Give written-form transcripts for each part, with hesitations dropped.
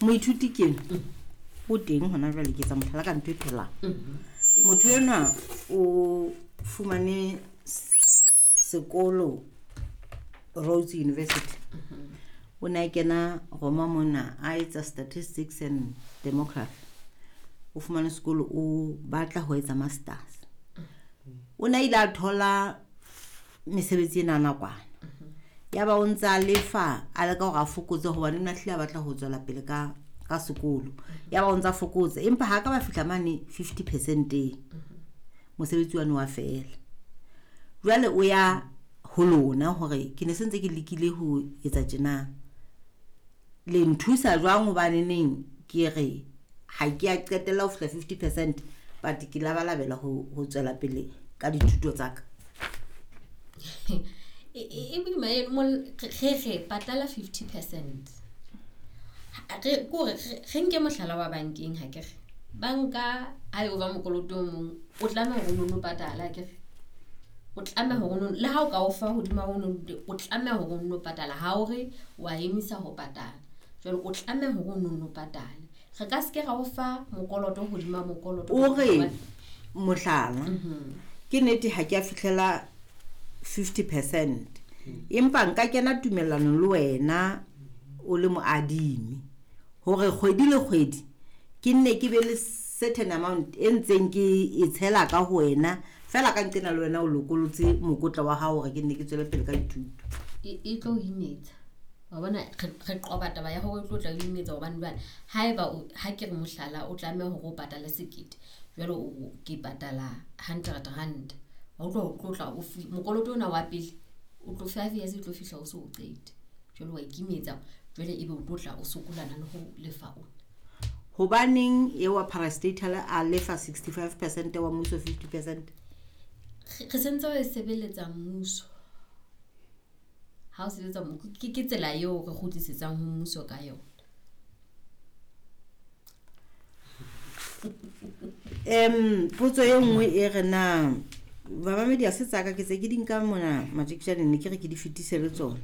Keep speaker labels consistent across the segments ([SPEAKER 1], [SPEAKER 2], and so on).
[SPEAKER 1] Moithuti ke o teng hona jwale, ke etsa mohlala ka ntho e phelang. Motho enwa o fumane sekolo Rhodes University. O ne a kena Roma mona a etsa statistics and demography. O fumane sekolo, o batla ho etsa masters. O ne a ile a thola mesebetsi ena ya nakwana. Yaba o ntse a lefa, a leka hore a fokotse hobane o ne a hlile a batla ho tswela pele ka sekolo. Yaba o ntse a fokotsa, empa ha ka ba fihla mane 50%-eng. Mosebetsi wane wa fela. Jwale o ya ho lona hore ke ne se ntse ke lekile ho etsa tjena. Le nthusa jwang hobane neng ke re ha ke a qetella ho fihla 50%, but ke labalabela ho tswela pele ka dithuto tsa ka.
[SPEAKER 2] E boima eno, re re patala 50%. Re kore re nke mohlala wa bankeng, ha ke re banka ha e o fa mokoloto o mong, o tlameha hore o no patala, ha ke re o tlameha hore o no, le ha o ka o fa hodima o no, o tlameha hore o no patala. Ha o re wa emisa ho patala, jwale o tlameha hore o no patale. Re ka se ke ra o fa mokoloto hodima mokoloto.
[SPEAKER 1] O re mohlala, ke nnete ha ke a fihlela 50%, empa nka kena tumellanong le wena o le moadimi hore kgwedi le kgwedi ke nne ke be le certain amount e ntseng ke e tshela ka ho wena, fela ka nqena le wena o lokolotse mokotla wa hao hore ke nne ke tswele pele ka dithuto.
[SPEAKER 2] E tlo o imetsa. Wa bona, re qoba taba ya hore e tlo tla o imetsa, hobane jwale haeba ha ke re mohlala, o tlameha hore o patale 1000, jwale o ke patala 100 rand. Wa utlwa, o tlo tla o mokoloto ona wa pele o tlo 5 years e tlo fihla o so o qete. Jwale wa ikimetsa, jwale ebe o tlo tla o sokolana le ho lefa ona.
[SPEAKER 1] Hobaneng eo wa parastatal a lefa 65%, wa mmuso 50%?
[SPEAKER 2] Re sentse re sebeletsa mmuso. Ha o sebetsa ke tsela eo re kgutlisetsang ho mmuso ka yona.
[SPEAKER 1] Potso e nngwe e re na bamamedi ha se tsaka, ke tse ke di nka mona matjeketjaneng, ne ke re ke di fetise le tsona.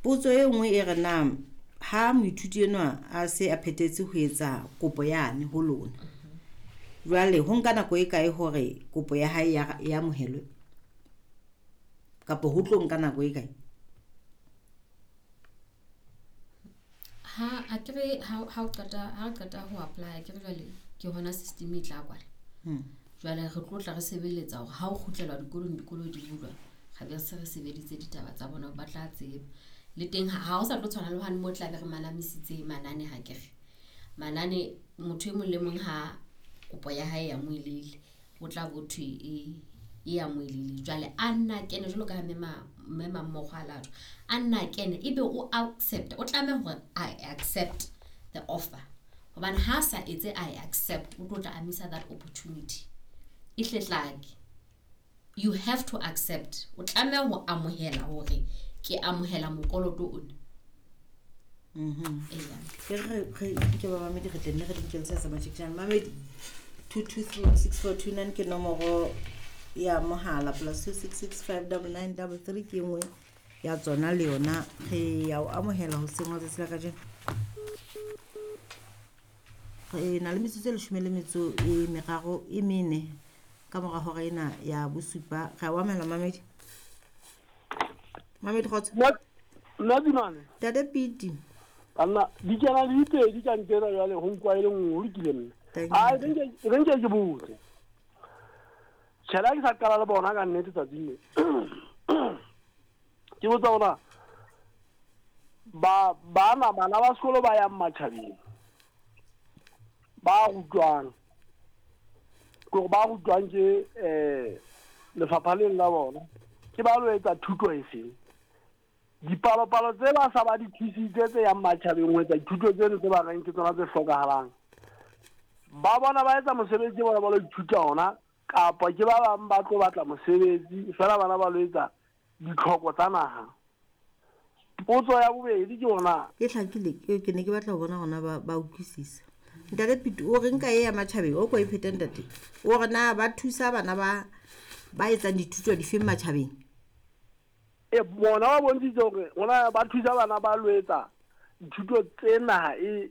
[SPEAKER 1] Potso e nngwe e re na ha moithuti enwa a se a phethetse ho etsa kopo yane ho lona, jwale ho nka nako e kae hore kopo ya hae ya amohelwe, kapa ho tlo nka nako e kae?
[SPEAKER 2] Ha a kere ha o qeta, ha o qeta ho apply, ke re jwale ke hona system e tla kwala. Jwale re tlo tla re sebeletsa hore ha o kgutlela dikolong, dikolo di bulwa, re be se re sebeditse ditaba tsa bona, ba tla tseba. Le teng ha o sa tlo tshwana le hane mo tla be re manamisitse manane, ha ke re manane motho e mong le mong ha kopo ya hae ya moelele, o tla bo thwe e ya moelele. Jwale a nna kene jwalo ka ha mme Mamokgo a latwa, a nna kene ebe o accept, o tlameha hore a accept the offer, hobane ha sa etse a accept, o tlo tla a missa that opportunity. E hlehlake, you have to accept, o tlameha ho amohela hore ke amohela mokoloto ona. Eya.
[SPEAKER 1] Ke re ke ba mamedi, re tla nne re di nkele tsa matjeketjane. Mamedi, 2236429 ke nomoro ya mohala, plus two six six five double nine double three ke nngwe ya tsona le yona. Re ya o amohela hoseng wa tsatsi la kajeno. Re na le metsotso e leshome le metso e meraro e mene ka mora hora ena ya bosupa. Re a o amohela mamedi. Mamedi kgotso.
[SPEAKER 3] Nna Dimane.
[SPEAKER 1] Ntate Piti.
[SPEAKER 3] Banna, di kena le dipedi ka ntena jwale ho nkwa e le nngwe, ho lokile mme.
[SPEAKER 1] Thank you.
[SPEAKER 3] Ai, re nke ke botse. Tjhela ke sa qala le bona ka nnete tsatsing le. Ke botsa hore bana ba sekolo ba yang matjhabeng, ba rutwang, ke hore ba rutwang ke lefapha leng la bona, ke ba lo etsa thuto e feng? Dipalopalo tse ba sa ba di thusitse tse yang matjhabeng ho etsa dithuto tseno tse ba reng ke tsona tse hlokahalang, ba bona ba etsa mosebetsi bona ba lo ithuta ona, kapa ke ba bang ba tlo batla mosebetsi fela bana ba lo etsa ditlhoko tsa naha. Potso ya bobedi ke hore na
[SPEAKER 1] E hlakile, ke ne ke batla ho bona hore ba utlwisisa. Ntate Piti, o re nka e ya matjhabeng, o ko e phete ntate. O re na ba thusa bana ba etsang dithuto difeng matjhabeng?
[SPEAKER 3] E bona ba bontshitse hore hona ba thusa bana ba lo etsa dithuto tse naha e